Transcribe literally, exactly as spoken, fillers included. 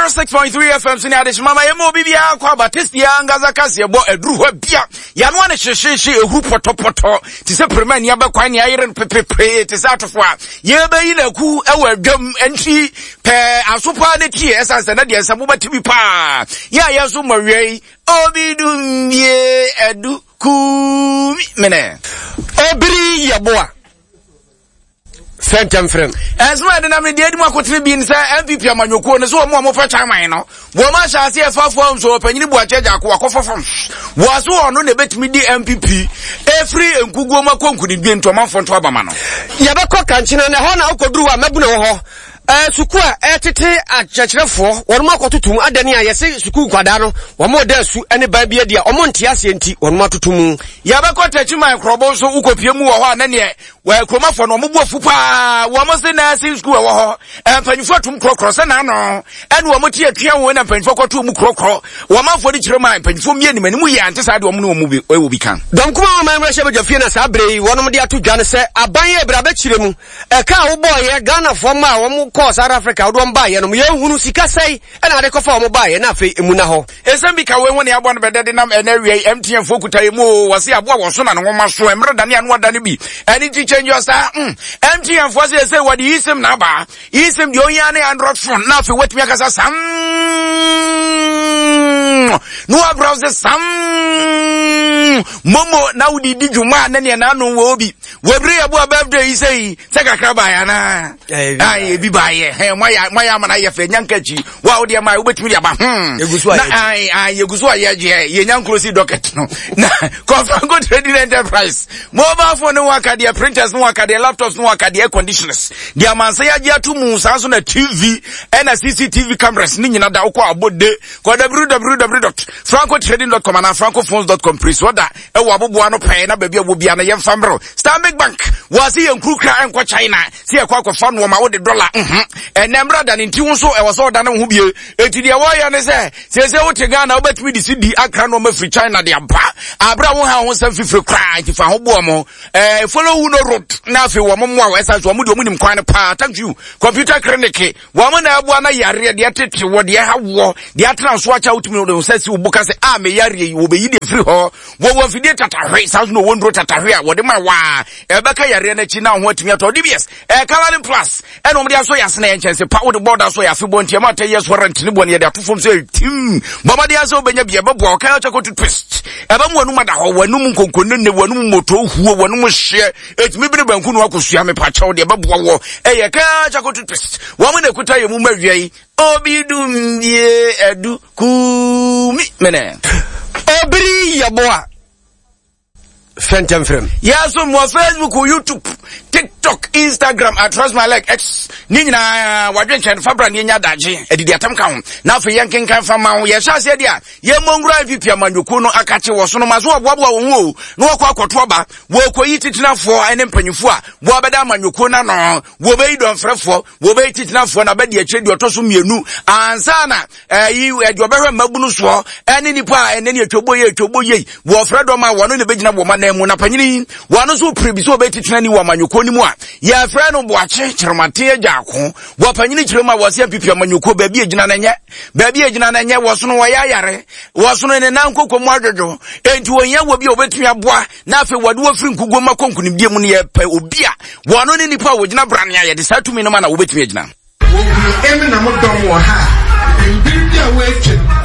one oh six point three F M so ne adehyema ma yɛma obi biara kɔ aba testia ankasa kaseɛ bɔ aduru hɔ bia yɛanoa ne hyehyehye ɛhuru pɔtɔpɔtɔ te sɛ pirima ani abɛkwan ne ayere no pepepee te sɛ atofo a yɛbɛyi naku ɛwɔ adwam ntwi pɛɛ aso paa ne tie, ɛsiane sɛ na deɛ nsɛm wobɛte bi paa yɛ a yɛ so mmɔwia yi obi dumbie adu kumi mene. Obiri Yɛboa fɛntɛmfrɛm. Ɛnso ɛde nam ne deɛ adi mu akotene bi ne sɛ N P P amanyɔkuo no so wɔn a wɔpɛ chairman no wɔn ahyɛ ase ɛfa fam so ɔpanyini Buakye Agyako akɔfa fam wɔn so ɔno na ebɛtumi di N P P efiri nkuguo mu akɔ nkunimdie nti ɔmanfoɔ nto abama no. Yɛbɛkɔ Kankyena na ɛhɔ na wokɔduru hɔ a mabuna wɔ hɔ. Ɛɛ, sukuu a ɛtete akyerɛkyerɛfoɔ wɔn akɔtoto mu adani a yɛsɛ sukuu nkwadaa no wɔn da asu ne ban bi adi a wɔn nte aseɛ nti wɔn atoto mu. Yɛbɛkɔ Tɛkyiman Nkorɔbɔ nso, wokɔpie mu wɔ hɔ a na neɛ wɔ kuromafoɔ no ɔmo bu afu paa. Wɔn se nursing school ɛwɔ hɔ, mpanyinfoɔ atum korɔkorɔ sɛ n'ano ɛne wɔn ti atua wɔn na mpanyinfoɔ kɔto mu korɔkorɔ. Wɔn amanfoɔ de kyerɛ mu a mpanyinfoɔ mie nim anim yɛ ante saa deɛ wɔn ne wɔn mu bi ɛwɔ bi kan. Dɔm kuma wɔn mmarahyɛ badwa fie na saa bere yi wɔnom de ato dwa no sɛ aban yɛ ebere abɛkyerɛ mu ɛka a wobɔɔyɛ Ghanafoɔ ma a wɔn kɔɔ South Africa wode wɔn baayɛ no yɛnhunu sika sɛe ɛna ade kɔfa wɔn baayɛ na afei emu na hɔ. Ɛsɛm bi ka wei ho ne aboa no bɛdɛ de nam ɛnɛ awia yi M T N foɔ kuta yi mu o. Wɔse aboa wɔ so na ne nwoma so mmerɛ dane ano adane bi ɛne nti change your star mm. M T N foɔ sɛ ɛsɛ wɔde eSIM na aba. eSIM deɛ ohia ne Android phone na afei watumi akasa sam na wabrowse sam momo na wode di dwuma a na neɛ n'ano wɔ bi wɔbere yɛboa birthday yi sɛ yi sɛ kakra baeɛ anaa? Ayi, ebi baayɛ hɛn moayɛ moayɛ ama no ayɛ fɛ nyanka akyi wo a wodeɛ ma wobɛtumi de aba hmm Yɛgu so a na yɛgye. ayi ayi yɛgu so a yɛgye yɛnya nkuro docket no na kɔfranco Trading Enterprise mobile phone ne waka deɛ, printers ne waka deɛ, laptops ne waka deɛ, air conditioners deɛ amansa yɛagye ato mu, saa nso na T V ɛna C C T V cameras ne nyina da. Wokɔ abɔde kɔ w w w dot francotrading dot com anaa francophones dot com pres wɔda ɛwɔ aboboa no pɛɛ na baabi a wɔ bia no yɛmfa mmerɛw. Stanbic Bank wɔase yɛ nkurukura ɛnkɔ China sɛ yɛkɔ akɔfa nnoɔma wode dɔla mhm ɛnɛ mmerɛ da ne nti wo nso ɛwɔ sɛ ɔda ne wo ho bie. Enti deɛ wɔyɛ ne sɛ seesei wote Ghana wobɛtumi de si di akra nnoɔma firi China de aba aberɛ a woha ho nsɛm fifiri koraa. Nti fa ho boɔ mo eh, follow who no road na afei wɔ mo mmoa wo ɛsan so wɔn deɛ wɔn nim kwan no paa. Thank you Computer Clinic, wɔn na ɛboa na yareɛ deɛ tete wɔ deɛ ha wɔ deɛ atena so akyɛ wotumi de nsa si wo bo ka sɛ a me yareɛ yi wɔbɛyi deɛ firi hɔ. Wɔwɔ mfidie tatahwe, saa nso na wɔwɔ nnuro tatahwe a wɔde ma waa ɛbɛka yareɛ no akyi na ho atumi atɔ. D B S ɛɛ Coloring Plus ɛna wɔde asɔ yɛ asena yɛ nkyɛnse pa wode bɔɔda so yɛ afebɔ nti ɛma ten years warranty ne bɔ ne yɛde ato fam sɛ tim bɔmmɔden asɛ wobɛnya bi ɛbɛboa ɔka kyɛ kɔto twist ɛbɛmu w'anum ada hɔ, w'anum nkonkonene, w'anum moto huo, w'anum hyeɛ ɛtumi bere banku no akɔsua. Mepakyɛw deɛ ɛbɛboa wɔ ɛyɛ ka kyɛ kɔto twist. Wɔn na ɛkuta yɛ mu ma awia yi obi dumbie adu kumi mene. Obiri Yɛboa fɛntɛmfrɛm. Yɛso mo Facebook, YouTube, TikTok, Instagram, I trust my leg X ne nyinaa wadwenkyɛn fa bra ne yɛnya adagye adidi atam ka ho na afei yɛnkenkan fa ma wo. Yɛhyɛ aseɛ deɛ a yɛmmɔ nwura N P P amanyɔkuo no akakye wɔ so no ma so wɔboaboa wɔn ho o na wɔkɔ akɔto aba. Wɔkɔyi titenafoɔ ne mpanyinfoɔ a wɔabɛda amanyɔkuo no ano. Wɔbɛyi dɔmfrɛfoɔ, wɔbɛyi titenafoɔ na bɛdi akyire deɛ ɔtɔ so mmienu ansa na ɛyi ɛdeɛ ɔbɛhwɛ mmabunu soɔ ɛne nipa a ɛne ne atwabɔ yie atwabɔ yie wɔfrɛ dɔm a wɔno ne bɛgyina wɔn anan mu. Na panyini wɔn nso pere bi sɛ ɔbɛyɛ titenani wɔ amanyɔkuo no mu a yɛfrɛ no Boakye Kyerɛmaten Agya Ako. Wɔ panyini kyerɛ mu a wɔsɛ N P P amanyɔkuo baabi egyina no nyɛ baabi egyina no nyɛ wɔsono wɔyɛ ayare wɔsono ne nan koko mu adwodwo enti wɔhia wɔ bi a wɔbɛtumi aboa na afei wɔde wɔfiri nkuguo mu akɔ nkonimdie mu no. Yɛpɛ obi a wɔno ne nipa a wɔgyina brane a yɛde saa tumi no ma na wɔbɛtumi agyina. Wɔhunu emi na mo dɔm wɔ ha a mbir bi a woetwa.